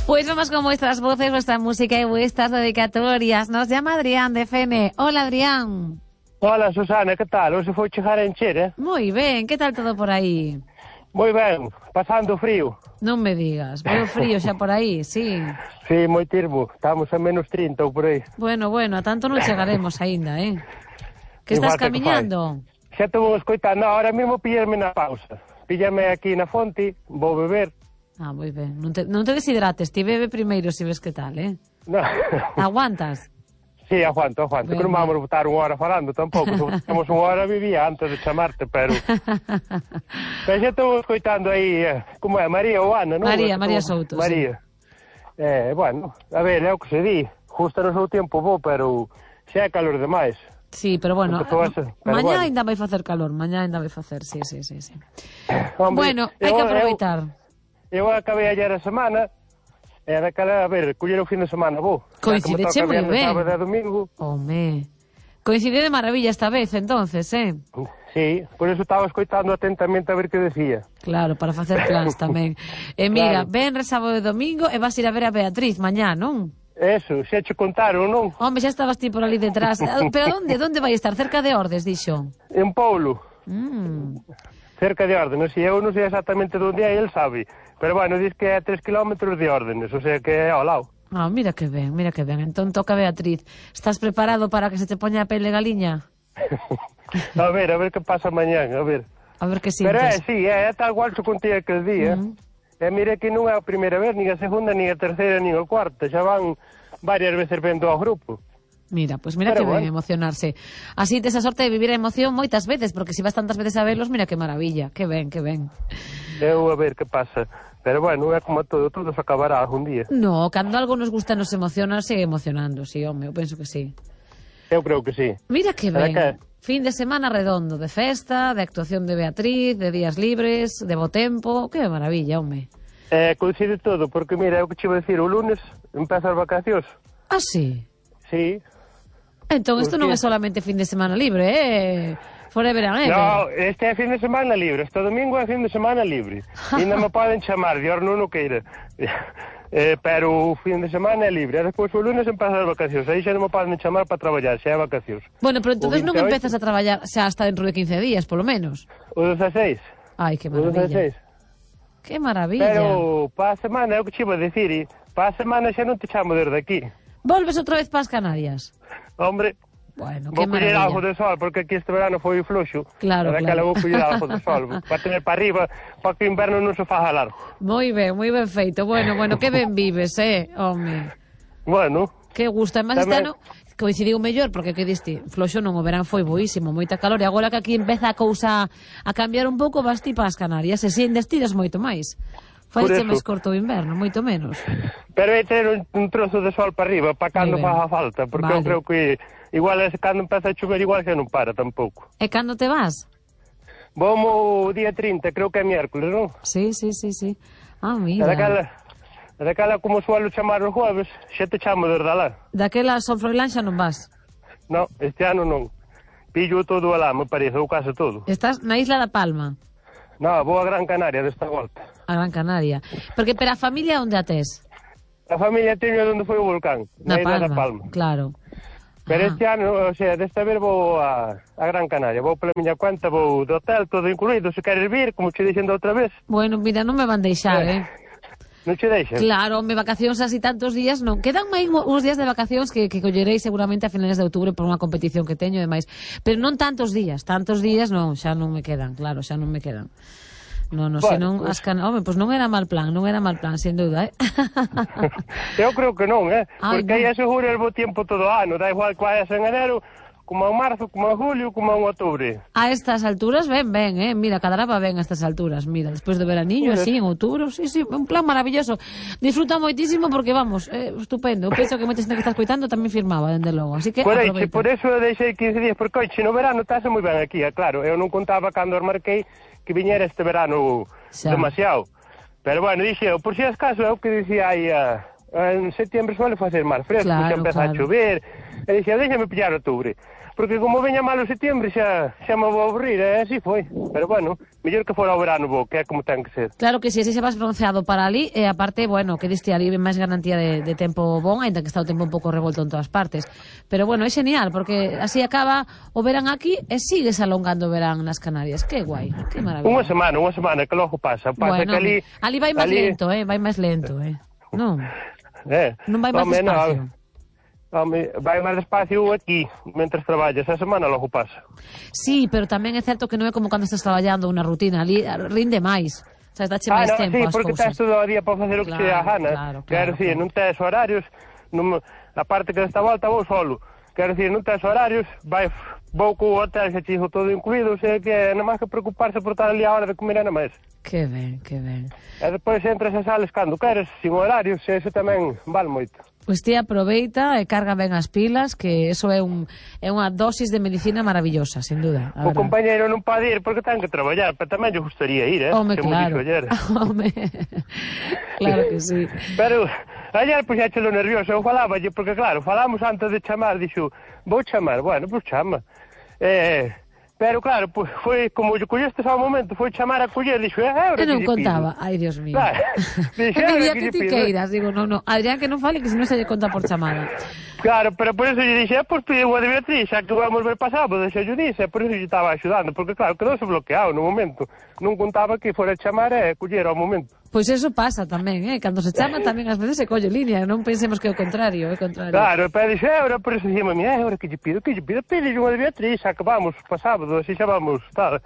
Pues vamos con vuestras voces, vuestra música y vuestras dedicatorias. Nos llama Adrián de Fene. Hola, Adrián. Hola, Susana, que tal? Hoxe foi chegar a encher, Moi ben, que tal todo por aí? Moi ben, pasando frío. Non me digas, veo frío xa por aí, sí. Sí, moi tirbo, estamos a menos 30 ou por aí. Bueno, a tanto non chegaremos aínda, Que estás camiñando? Xa te vou escoitando, ahora mesmo pillarme na pausa. Píllame aquí na fonte, vou beber. Ah, moi ben, non te deshidrates, ti bebe primeiro se ves que tal, No. Aguantas? Sí, aguanto, Ben, que non vamos botar unha hora falando tampouco, temos unha hora vivía antes de chamarte, pero xa estou escoitando aí, como é, María ou Ana, non? María Souto, María. Sí. Bueno, a ver, é o que se di, justo no seu tempo bo, pero xa é calor demais. Sí, pero bueno, mañá ainda vai facer calor, sí. Hombre, bueno, hai que aproveitar. Eu acabei ayer a semana, e daquela, a ver, coller o fin de semana, vou. Coincideche moi ben. Sábado e domingo. Home, coincide de maravilla esta vez, entonces, Sí, por eso estaba escoitando atentamente a ver que decía. Claro, para facer plans tamén. Mira, Claro. ven sábado e domingo e vas ir a ver a Beatriz mañá, non? Eso, xa che contaron, non? Home, xa estabas ti por ali detrás. Pero onde vai estar? Cerca de Ordes, dixo? En Poulo. Cerca de Órdenes, e eu non sei exactamente onde é, el sabe. Pero bueno, diz que é 3 kilómetros de Órdenes, o sea que é ao lado. Ah, mira que ben. Entón toca Beatriz. Estás preparado para que se te poña a pele galiña? A ver que pasa mañán, a ver. A ver que sintes. Pero sí, é tal cual que contei aquel día. E mire que non é a primeira vez, nin a segunda, nin a terceira, nin a cuarta. Xa van varias veces vendo ao grupo. Mira, pues mira que ben emocionarse. Así tes a sorte de vivir a emoción moitas veces, porque se vas tantas veces a verlos, mira que maravilla. Que ben. Eu a ver que pasa. Pero bueno, é como todo se acabará algún día. No, cando algo nos gusta nos emociona, sigue emocionando, sí, home, eu penso que sí. Eu creo que sí. Mira que ben. Fin de semana redondo, de festa, de actuación de Beatriz, de días libres, de bo tempo, que maravilla, home. Coincide todo, porque mira, é o que che vou dicir, o lunes empeza as vacacións. Ah, sí? Sí. Entón, isto non é solamente fin de semana libre, forever and ever. No, este é fin de semana libre, este domingo é fin de semana libre. E non me poden chamar, de horno non queira. Pero o fin de semana é libre. E despois o lunes empezan as vacacións. Aí xa non me poden chamar para traballar, xa é vacacións. Bueno, pero entonces non empezas a traballar xa hasta dentro de 15 días, polo menos. O 16. Ai, que maravilla. Que maravilla. Pero para a semana, é o que che iba a dicir, para a semana xa non te chamo desde aquí. Volves outra vez para as Canarias? Hombre, bueno, vou coller algo de sol, porque aquí este verano foi floxo. Claro. Vou coller algo de sol, para tener para arriba, para que o inverno non se faja largo. Moi ben feito. Bueno, que ben vives, home. Bueno. Que gusta. Además, este ano coincidiu mellor, porque que diste, floxo non, o verán foi boísimo, moita calor, e agora que aquí empeza a cousa a cambiar un pouco, vas ti para as Canarias, e sin destidas moito máis. Faixe máis corto o inverno, moito menos. Pero hai ter un trozo de sol para arriba, para cando faga falta, porque eu creo que igual cando empeza a chover igual que non para tampouco. E cando te vas? Vamos o día 30, creo que é miércoles, non? Sí. Ah, mira. Daquela como suelo chamar os jueves, xa te chamo desde alá. Daquela Sol Froilán xa non vas? No, este ano non. Pillo todo alá, me parece, ou case todo. Estás na Isla da Palma? No, vou a Gran Canaria desta volta. A Gran Canaria. Porque para a familia onde a tes? A familia teño onde foi o volcán, na Isla da Palma. Claro. Pero este ano, o sea, desta vez vou a Gran Canaria, vou pola miña cuenta, vou do hotel, todo incluído, se queres vir, como che dixen outra vez. Bueno, mira, non me van deixar, Non che deixan? Claro, me vacacións así tantos días non. Quedan máis uns días de vacacións que collerei seguramente a finales de outubro por unha competición que teño e demais. Pero non tantos días non, xa non me quedan, claro, xa non me quedan. No, bueno, senón as home, pois non era mal plan, sen dúda, Eu creo que non, porque aí asegura el bo tempo todo o ano, da igual que vayas en enero, como en marzo, como en julio, como en outubro. A estas alturas ben, mira, cadaraba ben a estas alturas, mira, despois de veraniño, así, en outubro, sí, un plan maravilloso. Disfruta moitísimo porque, vamos, estupendo. Eu penso que moita xente que está escoitando tamén firmaba, dende logo, así que aproveita. Por eso deixei 15 días, porque hoxe no verano estase moi ben aquí, claro, eu non contaba cando os marquei que viñera este verano demasiado. Pero bueno, dixo, por si acaso, é o que dicía aí en setembro suele facer máis fresco, Claro, xa empeza a chover, e dixen, déxame pillar outubro, porque como veña malo setembro xa me vou aburrir, e así foi, pero bueno, mellor que fora o verano bo, que é como ten que ser. Claro que si, así se vas bronceado para ali, e aparte, bueno, que diste ali máis garantía de tempo bon, ainda que está o tempo un pouco revolto en todas partes. Pero bueno, é genial, porque así acaba o verán aquí e sigues alongando o verán nas Canarias. Que guai, que maravilla. Unha semana, que logo pasa. Bueno, que ali vai máis lento, vai máis lento, Non, non vai máis despacio. Home, vai máis despacio aquí, mentre traballas, a semana logo pasa. Sí, pero tamén é certo que non é como cando estás traballando unha rutina, ali rinde máis. O sea, dache máis tempo sí, ás porque cousas. tens todo o día para facer o que te dá gana. Quero dicir, non tens horarios, a parte que desta volta vou solo. Quero dicir, non tens horarios, vou co hotel xe chizo todo incluído, o sea que non máis que preocuparse por estar ali a hora de comer nada máis. Que ben, que ben. E depois entras e sales cando queres, sin horarios, e eso tamén vale moito. Pois ti aproveita e carga ben as pilas, que eso é unha dosis de medicina maravillosa, sin duda. O compañeiro non pode ir porque ten que traballar, pero tamén lle gustaría ir, Home, claro. Home, claro que sí. Pero ayer puxéchelo nervioso, eu faláballe, porque claro, falamos antes de chamar, dixo, vou chamar, bueno, pois chama. Pero claro, pues, foi como lle colleste ao momento, foi chamar a coller, dixo, que non contaba, ai Dios mío. Claro, dixo, día que ti queiras, digo, non, Adrián que non fale, que se non se lle conta por chamada. Claro, pero por eso lle dixe, pois pide a de Beatriz, xa que vamos ver pasado, deixa yo dixe, por eso lle estaba axudando, porque claro, quedouse bloqueado no momento, non contaba que fora chamar e coller ao momento. Pois eso pasa tamén, cando se chama tamén ás veces se colle línea, non pensemos que é o contrario, Claro, pero dixe, ahora por eso dixemos, ahora que lle pido, pide unha de Beatriz, xa que vamos pa sábado, así xa vamos, tal.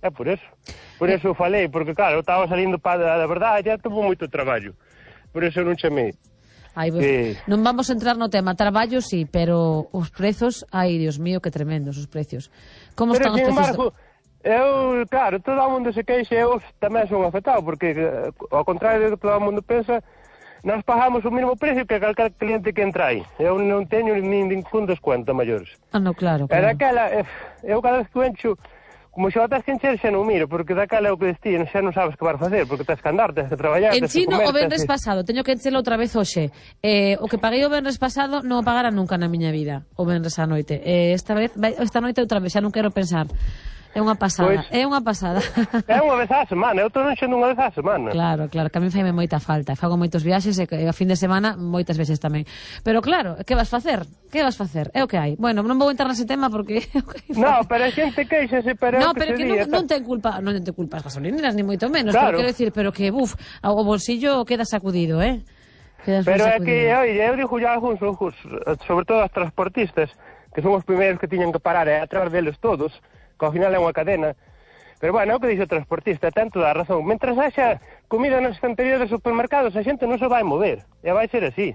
É por eso falei, porque claro, eu estaba salindo para a verdade, já tuvo moito traballo, por eso non chamei. Ai, non vamos a entrar no tema traballo, sí, pero os prezos, ai, Dios mío, que tremendos os precios. Como están os precios? Eu, claro, todo o mundo se queixa, eu tamén son afectado, porque ao contrario do que todo o mundo pensa, nós pagamos o mesmo precio que calquer cliente que entra aí. Eu non teño ningún descuento maiores. No, claro. Pero aquela, eu cada vez que encho, como xa o tens que encher, xa non miro, porque daquela é o que destino, xa non sabes que vas facer, porque tens que andar, tens que traballar, tens que comer. O venres pasado, teño que enchelo outra vez hoxe. O que paguei o venres pasado non o pagara nunca na miña vida, o venres a noite. Esta noite outra vez, xa non quero pensar. É unha pasada, pois, é unha pasada. É unha vez á semana, eu estou enchendo unha vez á semana. Claro, que a mí faime moita falta. Fago moitos viaxes e a fin de semana moitas veces tamén. Pero claro, que vas facer? É o que hai. Bueno, non vou entrar nese tema porque... No, pero a xente queixase, pero no, pero que non ten culpa as gasolineras, ni moito menos. Claro. Pero quero decir, pero que, o bolsillo queda sacudido, Pero é que, oye, eu digo ya algúns, sobre todo as transportistas, que son os primeiros que tiñan que parar e atrás deles todos, que ao final é unha cadena. Pero bueno, é o que dixe o transportista, ten toda a razón. Mentras haxa comida nas estanterías dos supermercados, a xente non se vai mover. E vai ser así.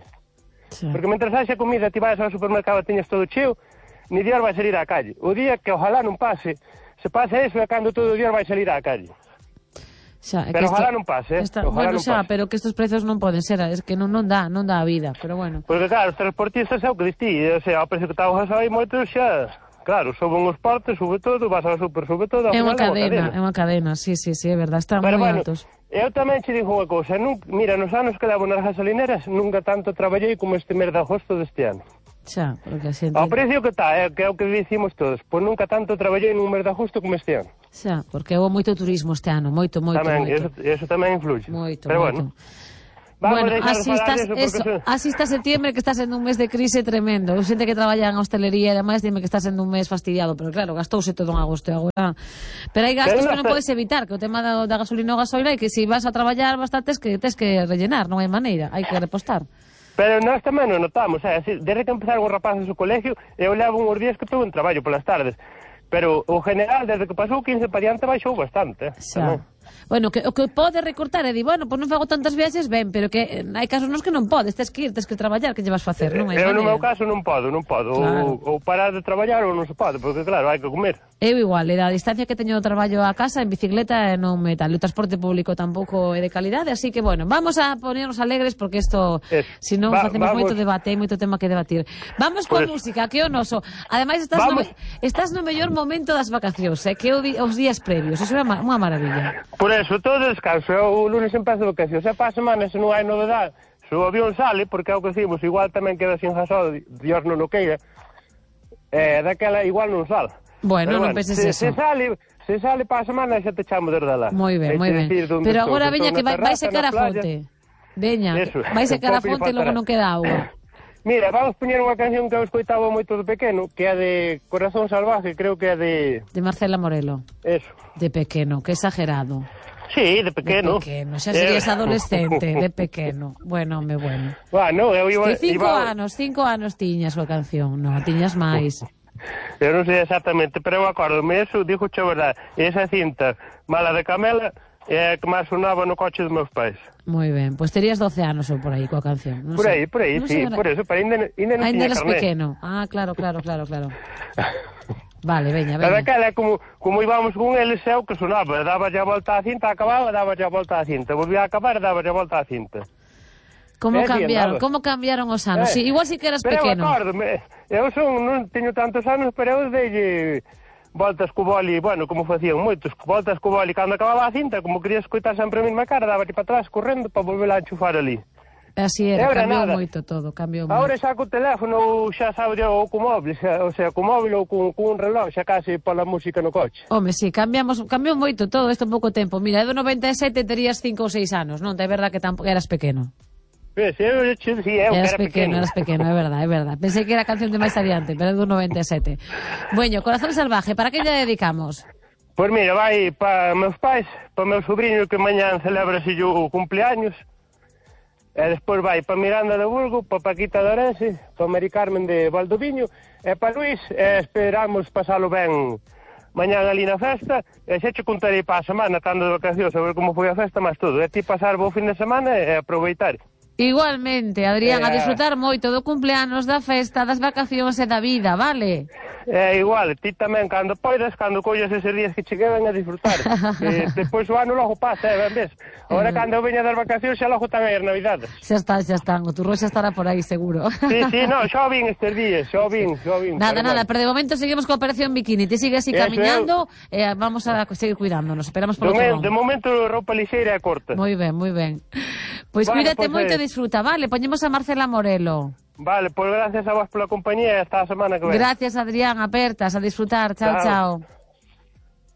Sí. Porque mentras haxa comida, ti vais ao supermercado e teñas todo cheo, ni Dios vai salir á calle. O día que ojalá non pase, se pasa eso é cando todo o Dios vai salir á calle. Pero ojalá non pase, bueno, xa, pero que estes prezos non poden ser, es que non dá a vida, pero bueno. Porque claro, os transportistas é o que distí, o sea, ao precio que está o gasoi moitos xa... Claro, soben os portes, sube todo, vas ao super, sube todo. É unha cadena, sí, é verdade, están moi altos. Eu tamén che digo unha cousa, mira, nos anos que levo nas gasolineras, nunca tanto traballei como este mes de agosto deste ano. Xa, porque a xente... Ao precio que está, que é o que dicimos todos, pois nunca tanto traballei nun mes de agosto como este ano. Xa, porque houve moito turismo este ano, moito. Tamén, eso tamén influye. Moito. Bueno, así está septiembre, que está sendo un mes de crise tremendo. Eu xente que traballa en hostelería e demais dime que está sendo un mes fastidiado, pero claro, gastouse todo en agosto e agora. Pero hai gastos que non podes evitar, que o tema da gasolina ou gasoila é que se vas a traballar bastante tes que rellenar, non hai maneira, hai que repostar. Pero nós tamén non notamos, desde que empezaron os rapaces o colegio, eu levo uns días que estou en traballo polas tardes. Pero o general, desde que pasou 15 para diante, baixou bastante. Xa. Bueno, o que pode recortar é di, bueno, pois non fago tantas viaxes, ben, pero que hai casos nos que non podes, tes que ir, tes que traballar, que lle vas facer, non hai maneira. Eu no meu caso non podo, claro. ou parar de traballar ou non se pode, porque claro, hai que comer. Eu igual, da distancia que teño do traballo a casa en bicicleta non me tal, o transporte público tampouco é de calidade, así que bueno, vamos a ponernos alegres porque isto, se non facemos moito debate, hai moito tema que debatir. Vamos coa música, que é o noso. Ademais estás no mellor momento das vacacións, que os días previos, iso é unha maravilla. Por eso, todo descanso, o lunes empezo vacacións, e para a semana, se non hai novedade, se o avión sale, porque é o que decimos, igual tamén queda sin gasol, Dios non o queira, daquela igual non sale. Bueno, non penses eso. Se sale para a semana xa te chamo desde lá. Moi ben, moi ben. Pero agora veña que vai secar a fonte. Veña, vai secar a fonte e logo non queda auga. Mira, vamos poñer unha canción que eu escoitaba moito de pequeno, que é de Corazón Salvaje, creo que é de... De Marcela Morelo. Eso. De pequeno, que exagerado. Sí, de pequeno. De pequeno, xa serías adolescente, de pequeno. Bueno, home, bueno. Bueno, eu iba... Que 5 anos tiñas a canción, non, tiñas máis. Eu non sei exactamente, pero eu acordome, eso, dixo a verdade, esa cinta, Mala de Camela, é a que máis sonaba no coche dos meus pais. Moi ben, pois terías 12 anos ou por aí coa canción. Por aí, no sí, por eso, pero ainda non tiña carné. Ainda eras pequeno. Ah, claro. Vale, veña. Pero aquela, como íbamos con eles, é o que sonaba, daba a volta á cinta, acababa, daba a volta á cinta, volvía a acabar e daba a volta á cinta. Como cambiaron os anos? Sí, igual si que eras pequeno. Pero eu non teño tantos anos, pero eu dei voltas co boli, bueno, como facían moitos, voltas co boli cando acababa a cinta, como quería escoitar sempre a mesma cara, daba para atrás correndo para volver a enchufar ali. Así era, cambiou moito todo, cambiou moito. Agora xa co teléfono xa sabe ou co móvil, o sea, co móvil ou con un reloj, xa case pola música no coche. Home, sí, cambiou moito todo isto en pouco tempo. Mira, do 97 terías 5 ou 6 anos, non? É verdad que tampouco eras pequeno. Eras pequeno, é verdad. Pensei que era canción de máis adiante, pero é do 97. Bueno, Corazón Salvaje, para que lle dedicamos? Pois mira, vai para meus pais, para meu sobrinho que mañán celebra o cumpleaños, e despois vai para Miranda de Burgo, para Paquita de Orense, para Mari Carmen de Valdoviño, e para Luís, esperamos pasalo ben mañán ali na festa, e xa che contarei para a semana, estando de vacacións, a ver como foi a festa, mas todo, e ti pasar bo fin de semana e aproveitar. Igualmente, Adrián, a disfrutar moito do cumpleanos, da festa, das vacacións e da vida, vale? Igual, ti tamén, cando poidas, cando collas eses días que che quedan a disfrutar. Despois o ano logo pasa, ben ves? Agora, cando eu veña das vacacións, xa logo tamén as navidades. Xa están, o turrón xa estará por aí, seguro. Sí, non, xa vin estes días, xa vin. Nada, pero de momento seguimos coa Operación Bikini, te sigue así camiñando, e vamos a seguir cuidándonos, esperamos polo turrón. De momento, roupa lixeira e corta. Moi ben. Pois cuídate moito e disfruta, vale? Poñemos a Marcela Morelo. Vale, pois gracias a vos pola compañía e hasta a semana que ven. Gracias, Adrián, apertas, a disfrutar. Chao.